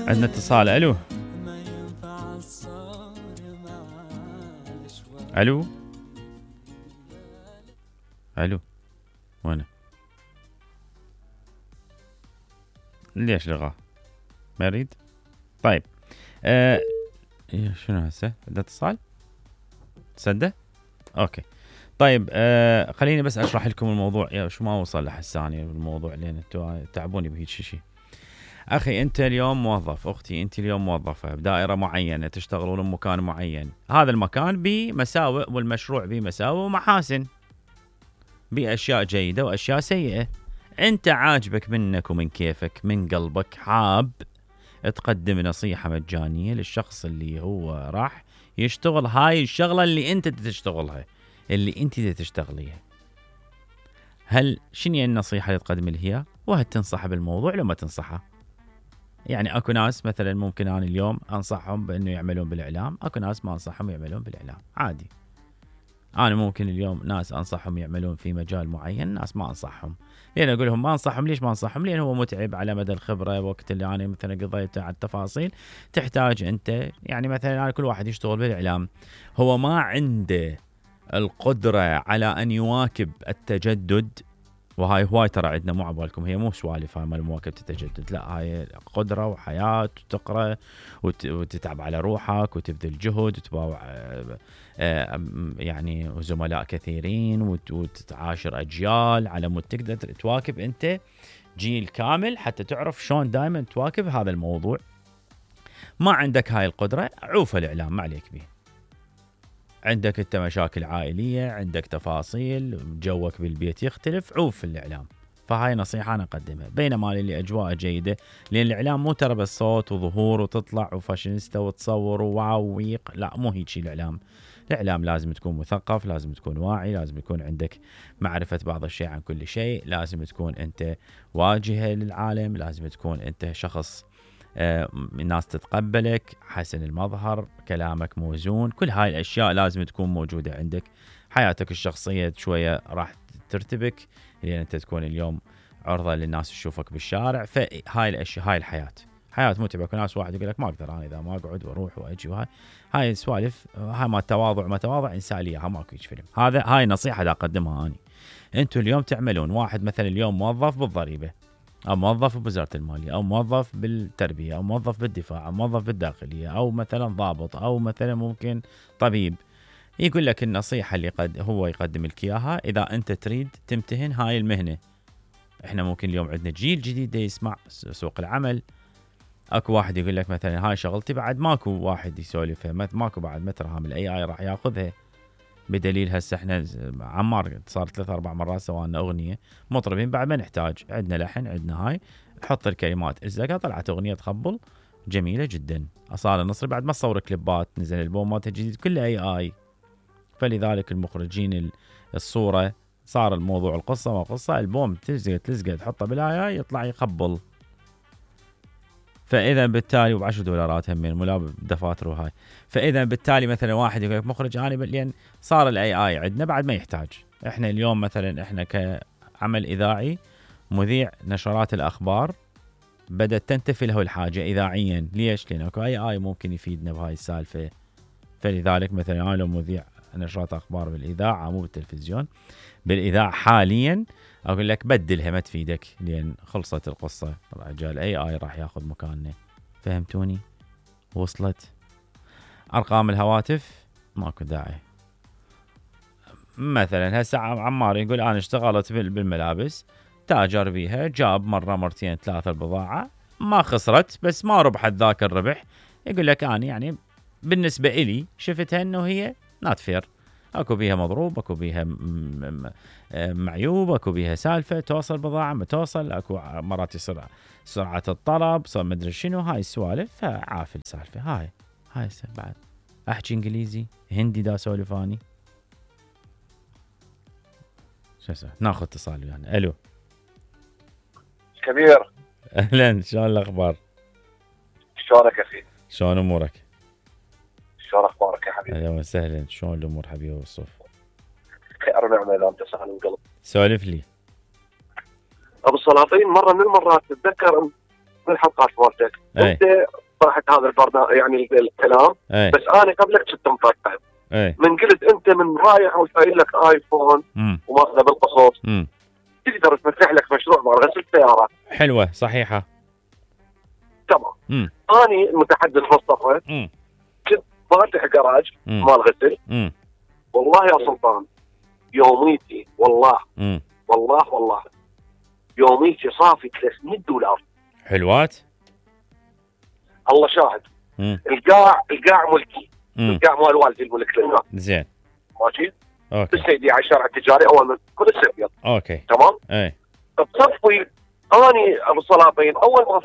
عندنا اتصال. الو الو الو وينه؟ ليش لغاه؟ ما يريد؟ طيب شنو هسه؟ ده اتصال؟ تصدق؟ اوكي طيب خليني بس اشرح لكم الموضوع. يا شو ما وصل لحساني بالموضوع لين انتوا تعبوني بهيك شيء. اخي انت اليوم موظف، اختي انت اليوم موظفه بدائره معينه، تشتغلون بمكان معين، هذا المكان بمساوئ والمشروع بمساوئ ومحاسن، باشياء جيده واشياء سيئه. انت عاجبك منك ومن كيفك من قلبك حاب تقدم نصيحه مجانيه للشخص اللي هو راح يشتغل هاي الشغله اللي انت تشتغلها، اللي انت تشتغليها. هل شنو النصيحه اللي تقدم له اياها؟ وهل تنصح بالموضوع لو ما تنصحه؟ يعني اكو ناس مثلا ممكن انا اليوم انصحهم بانه يعملون بالاعلام، اكو ناس ما انصحهم يعملون بالاعلام، عادي. انا ممكن اليوم ناس انصحهم يعملون في مجال معين، ناس ما انصحهم. لين اقول لهم ما انصحهم، ليش ما انصحهم؟ لان هو متعب على مدى الخبره، وقت اللي انا مثلا قضيته على التفاصيل تحتاج انت، يعني مثلا أنا كل واحد يشتغل بالاعلام هو ما عنده القدره على ان يواكب التجدد. وهاي هواي ترى عندنا، مو عبالكم، هي مو سوالف هاي مال مواكبة التجدد، لا هاي قدرة وحياة، وتقرأ وتتعب على روحك وتبذل جهد وتباوع يعني زملاء كثيرين وتعاشر أجيال على مود تقدر تواكب أنت جيل كامل، حتى تعرف شلون دائما تواكب هذا الموضوع. ما عندك هاي القدرة، عوف الإعلام ما عليك به. عندك انت مشاكل عائلية، عندك تفاصيل، جوك بالبيت يختلف، عوف الإعلام. فهاي نصيحة أنا أقدمها. بينما اللي أجواء جيدة، لأن الإعلام مو ترى بس صوت وظهور وتطلع وفاشينيستا وتصور وواو ويق، لا مو هيك الإعلام. الإعلام لازم تكون مثقف، لازم تكون واعي، لازم يكون عندك معرفة بعض الشيء عن كل شيء، لازم تكون أنت واجهة للعالم، لازم تكون أنت شخص الناس تتقبلك، حسن المظهر، كلامك موزون، كل هاي الأشياء لازم تكون موجودة عندك. حياتك الشخصية شوية راح ترتبك، لأن أنت تكون اليوم عرضة للناس تشوفك بالشارع. فهاي الأشياء، هاي الحياة حياة متعبة. كل ناس واحد يقول لك ما أقدر أنا إذا ما أقعد وأروح وأجي، هاي السوالف، هاي ما تواضع، ما تواضع إنسانية، ها ماكو فيلم. هاي نصيحة دا أقدمها أنا. أنتوا اليوم تعملون، واحد مثلا اليوم موظف بالضريبة، أو موظف بوزارة المالية، أو موظف بالتربية، أو موظف بالدفاع، أو موظف بالداخلية، أو مثلا ضابط، أو مثلا ممكن طبيب. يقول لك النصيحة اللي هو يقدم لك إياها إذا أنت تريد تمتهن هاي المهنة. إحنا ممكن اليوم عندنا جيل جديد يسمع سوق العمل، اكو واحد يقول لك مثلا هاي شغلتي، بعد ماكو واحد يسولفها، ماكو بعد مترها الاي اي راح ياخذها. بدليل هسه احنا عمار صار 3-4 مرات سوالنا اغنيه مطربين بعد ما نحتاج، عندنا لحن، عندنا هاي، حط الكلمات الزقه، طلعت اغنيه تخبل جميله جدا. اصاله نصري بعد ما تصور كليبات، نزل البوم مالته الجديد كله اي اي. فلذلك المخرجين الصوره صار الموضوع القصه ما قصه، البوم تلزقه تحطه بالاي اي يطلع يخبل. فاذا بالتالي $10 هم ملاب دفاتر وهاي. فاذا بالتالي مثلا واحد يقول لك مخرج انا لان صار الاي اي عندنا بعد ما يحتاج. احنا اليوم مثلا احنا كعمل اذاعي، مذيع نشرات الاخبار بدات تنتفي له الحاجه اذاعيا. ليش؟ لان اكو اي اي ممكن يفيدنا بهاي السالفه. فلذلك مثلا انا لو مذيع نشرات اخبار بالاذاعه مو بالتلفزيون، بالاذاعه حاليا، اقول لك بدلها ما تفيدك، لان خلصت القصه، رجال اي اي راح ياخذ مكاننا. فهمتوني؟ وصلت؟ ارقام الهواتف ماكو داعي. مثلا هسه عمار يقول انا اشتغلت بالملابس، تاجر بيها، جاب مره مرتين ثلاثه البضاعه، ما خسرت بس ما ربحت ذاك الربح. يقول لك انا يعني بالنسبه إلي شفتها انه هي نات فير، اكو بيها مضروب، اكو بيها معيوب، اكو بيها سالفه، توصل بضاعه ما توصل، اكو مرات يصير سرعه الطلب، صار مدري شنو، هاي السوالف. فعافل السالفه هاي بعد احكي انجليزي هندي دا سولفاني. شو ناخذ اتصال يعني. الو كبير، اهلا، شلون الاخبار؟ شلونك اخي؟ شلون امورك؟ شلون اخبارك يا حبيبي؟ اهلا وسهلا، شلون الامور حبيبي والصوف؟ خير ونعمه اذا انت سالم قلب. سولف لي. ابو السلاطين، مره من المرات تتذكر من الحلقات مالتك انت طرحت هذا البرنامج يعني الكلام. بس انا قبلك كنت مطرحه. من قلت انت من رايح وشايل لك ايفون وماخذه بالقصص تقدر تفتح لك مشروع مال غسل سياره. حلوه صحيحه. تمام. اني المتحدث مصطفى كنت فاتح جراج مال غسل. والله يا سلطان يوميتي والله والله يوميتي صافي $300. حلوات. الله شاهد. القاع ملكي. القاع مال والدي الملك لله. زين. ماشي. اوكي. بالسيدي على الشارع التجاري اول من كل ابيض. اوكي. تمام. بصفي اني ابو صلابين اول ما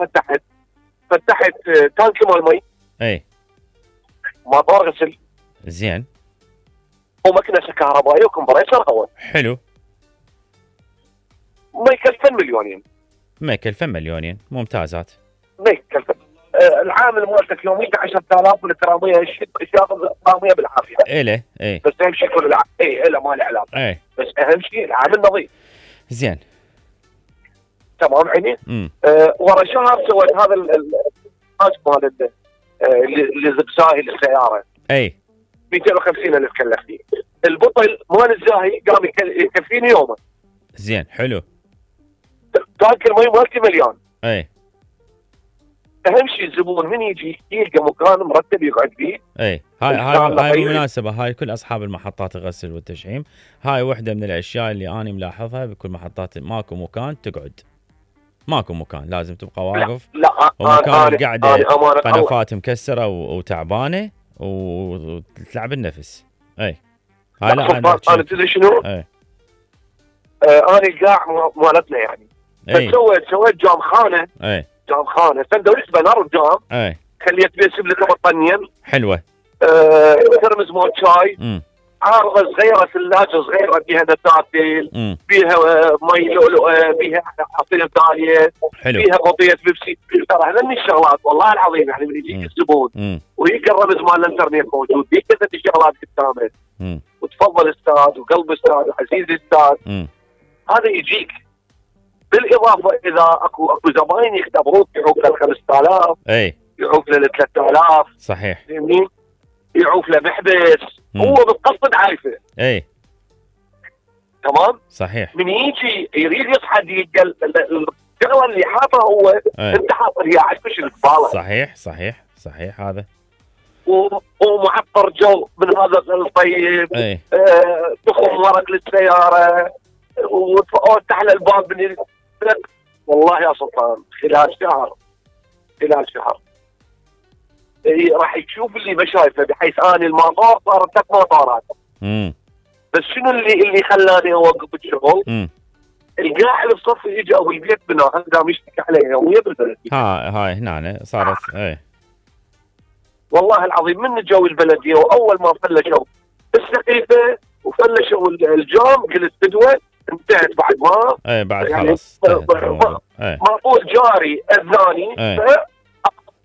فتحت تانك مال مي. مطار غسل. زين. ومكنسه كهربائيه وكمبريسر هواء. حلو. ما يكلفن مليونين. ما يكلفن مليونين. ممتازات. ما يكلفن. العامل مالتك يوميا 10,000 والكراميه ياخذ كراميه بالعافيه. إله. بس اهم شيء كل له ما له علاقه. بس اهم شيء العامل نظيف. زين. تمام عيني. ورا شهر سويت هذا الحاج مال اللي زبساهي للسياره. 250,000 كلفتني. البطل مال الزاهي قام يكفيني يومه. زين. حلو. تانك المي مالتي مليان. اهم شيء الزبون من يجي يلقى مكان مرتب يقعد فيه. هاي بالمناسبه هاي كل اصحاب المحطات الغسل والتشحيم، هاي وحده من الاشياء اللي انا ملاحظها بكل محطات. ماكو مكان تقعد، ماكو مكان، لازم تبقى واقف. لا ومكان القعده قنفات مكسره وتعبانه وتلعب النفس. هاي لا انا تدري شنو؟ انا القاع مالتنا يعني. سويت جام خانه. جام خانه سندويش بنار وجام. خليت بيه سبلة بطنين. حلوه. ترمز مال شاي. عارضه صغيره ثلاجه صغيره بيها نتاتل. بيها مي لؤلؤه. بيها عصير داليه. بيها بطيه بيبسي. ترى هذني الشغلات والله العظيم يعني من يجيك الزبون ويلقى الرمز مال الانترنت موجود بيه كذا الشغلات قدامه. وتفضل استاذ وقلب استاذ وعزيزي استاذ. هذا يجيك. بالاضافه اذا اكو زباين يختبروك يعوف ل 5,000. يعوف ل 3,000. صحيح. فهمني؟ يعوف له محبس. هو بالقصد عايفه. تمام؟ صحيح. من يجي يريد يصحى يلقى الشغله اللي حاطها هو انت حاطها هي عايفش القباله. صحيح هذا. ومعطر جو من هذا الطيب. تخم ورق للسياره وتفتح له الباب من والله يا سلطان خلال شهر راح تشوف اللي ما شايفه، بحيث اني المطار صارت 3 مطارات. بس شنو اللي خلاني اوقف الشغل؟ القاع اللي بصفي يجي ابو البيت بنا قام يشتكي علي يوميا بالبلد. هاي هنا صارت. والله العظيم من جو البلديه واول ما فلشوا السقيفه وفلشوا الجام قلت بدوه انتهت بعد ما بعد يعني خلاص مطول جاري اذاني.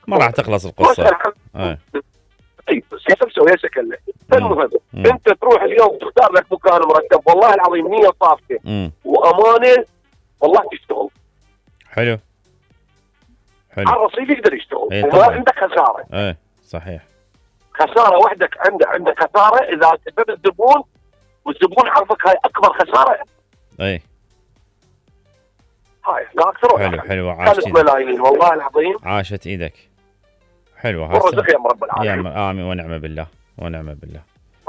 ما راح تخلص القصه. بس مسوي سكله. المهم انت تروح اليوم تختار لك مكان مرتب والله العظيم نيه صافيه وامانه والله تشتغل. حلو. على الرصيف يقدر يشتغل وما عندك خساره. صحيح. خساره وحدك عندك خساره اذا سبب الزبون والزبون عرفك هاي اكبر خساره. هاي لا اكثر. حلو عاشت ملايين والله العظيم. عاشت ايدك. حلوه ورزق يا رب العالمين. امين ونعم بالله.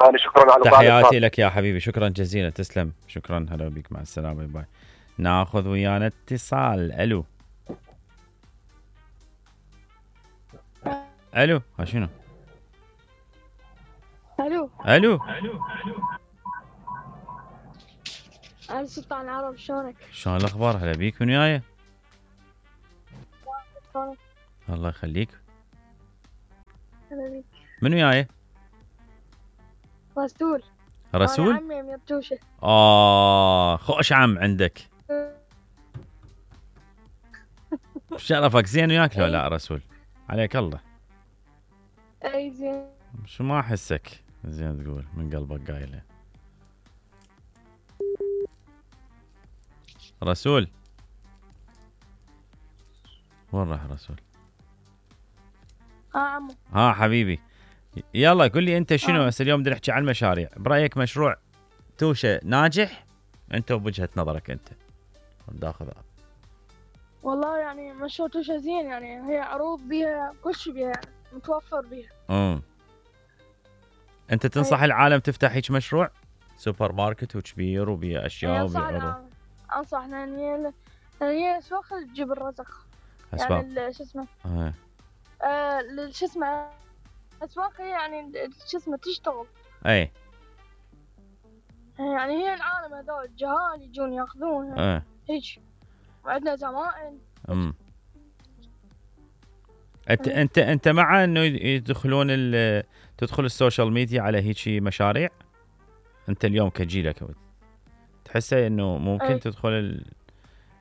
انا شكرا على تحياتي لك يا حبيبي، شكرا جزيلا، تسلم، شكرا، هلا بك، مع السلامه، باي. ناخذ ويانا اتصال. الو ها شنو؟ الو انا سلطان عرب، شلونك؟ شلون الاخبار؟ هلا بيك، من وياي؟ الله يخليك. هلا بيك. من وياي؟ رسول. رسول؟ عمي من يطوشه. خوش عم عندك. شرفك، زين وياك لو لا رسول؟ عليك الله. اي زين. شو ما احسك زين تقول من قلبك قايله. رسول وين راح رسول؟ عمو. ها حبيبي، يلا قل لي انت شنو هسه اليوم بدنا نحكي عن المشاريع، برايك مشروع توشه ناجح انت وبوجهه نظرك انت ناخذ؟ والله يعني مشروع توشه زين، يعني هي عروض بيها كل شيء بيها، يعني متوفر بيها. انت تنصح العالم تفتح هيك مشروع سوبر ماركت وكبير وبيه اشياء وبيه عروض؟ انصح لان هي اسواق تجيب الرزق. اسواق يعني شو اسمه شو اسمه اسواق هي يعني شو اسمه تشتغل. اي يعني هي العالم هذول الجهال يجون ياخذونها هيك، وعندنا زمائن. انت مع انه يدخلون تدخل السوشيال ميديا على هيك مشاريع؟ انت اليوم كجيلك تحسه انه ممكن تدخل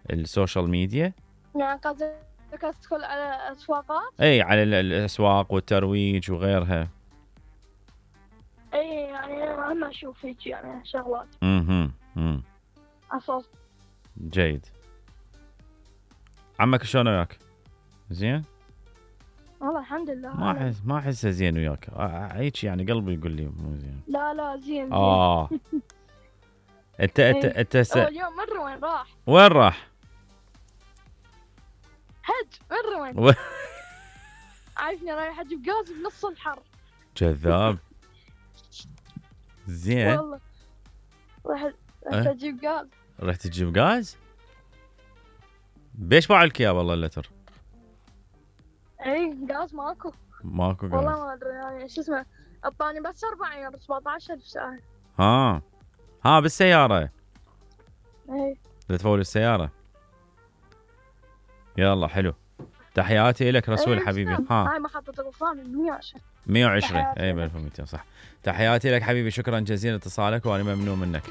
السوشيال ميديا؟ يعني قصدك تدخل على اسواقات؟ اي على الاسواق والترويج وغيرها. اي يعني انا اشوف هيك يعني شغلات. اساس. جيد. عمك شلون وياك؟ زين؟ والله الحمد لله. ما احسه زين وياك هيك، يعني قلبي يقول لي مو زين. لا زين. انت اليوم مره وين راح؟ وين راح؟ حج مره وين؟ عارفني رايح اجيب غاز بنص الحر. كذاب. زين والله رحت اجيب غاز. رحت تجيب غاز؟ بيش باع لك اياه والله اللتر؟ اي غاز ماكو غاز والله ما ادري يعني شو اسمه، اعطاني بس 4 ايام 17000 ساعه. ها بالسياره؟ اي تفول السياره. يلا حلو، تحياتي لك رسول حبيبي. هاي محطة الوفان 120. 120 اي 1200 صح. تحياتي لك حبيبي، شكرا جزيلا اتصالك وانا ممنون منك.